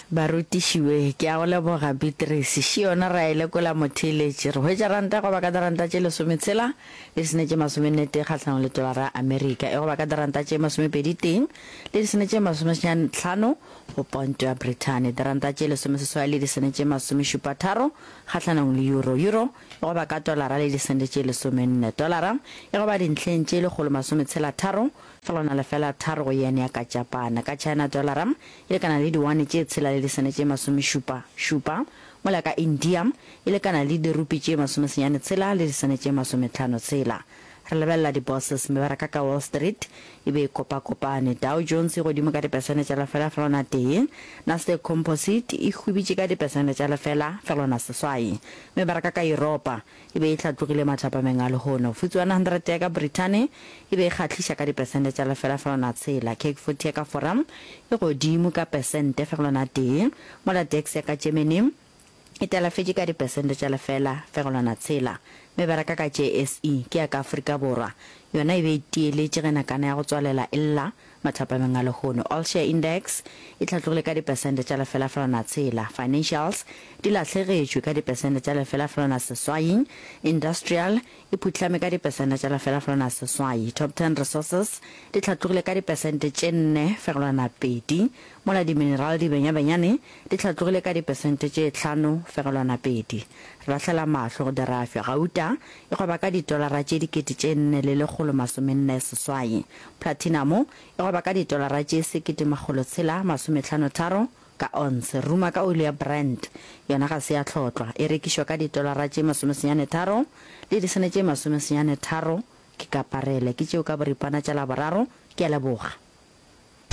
Barutiši we, ke a go leboga Beatrice. Še yona re a e lekola motheeletši. Re hwetša ranta e goba ka diranta tše lesometshela le disene tše masomenne tee kgahlanong le tolara ya Amerika, e goba ka diranta tše masomepedi tee le disene tše masomesenyane tlhano go ponto ya Brithani, diranta tše lesomeseswai le disene tše masomešupa tharo kgahlanong le euro, euro e goba ka tolara le disente tše lesomenne, tolara e goba dintlheng tše lekgolo masometshela tharo Fegelwana lefela tharo go yen ya ka Japane. Ka China dolara e lekana le diwane tše tshela le disene tše masomešupa šupa, mola ka India e lekana le dirupi tše masomesenyane tshela le disene tše masometlhano tshela. Re lebelela di-bourses, mebaraka ka Wall Street e be e kopakopane. Dow Jones e godimo ka dipesene tša lefela fegelwana tee, Nasdaq Composite e hwibitše ka dipesene tša lefela fegelwana seswai. Mebaraka ka Yuropa e be e hlatlogile mathapameng a lehono. FTSE 100 ya ka Brithani e be e kgahliša ka dipesente tša lefela fegelwana tshela. CAC 40 ya ka Fora e godimo ka pesente fegelwana tee, mola DAX ya ka Germany e talafetše ka dipesente tša lefela fegelwana tshela. Mebaraka ka JSE ke ya ka Afrika Borwa yona e be e tieletše ge nakana ya go tswalela e lla Mathapameng a lehono, All Share Index e hlatlogile ka dipesente tša lefela fegelwana tshela, Financials di lahlegetšwe ka dipesente tša lefela fegelwana seswai, Industrial e phuhlame ka dipesente tša lefela fegelwana seswai, Top Ten Resources di hlatlogile ka dipesente tše nne fegelwana pedi, mola di-mineral di benyabenyane di hlatlogile ka dipesente tše tlhano fegelwana pedi. Re lahlela mahlo go dirafyo, gauta e gweba ka ditolara tše 4148. Platinamo e gweba ka ditolara tše 1653 ka onse. Ruma ka oli ya Brent yona ga se ya hlotlwa, e rekišwa ka ditolara tše masomesenyane tharo le disene tše masomesenyane tharo. Ke ka parele. Ke tšeo ka boripana tša Laboraro. Ke a leboga.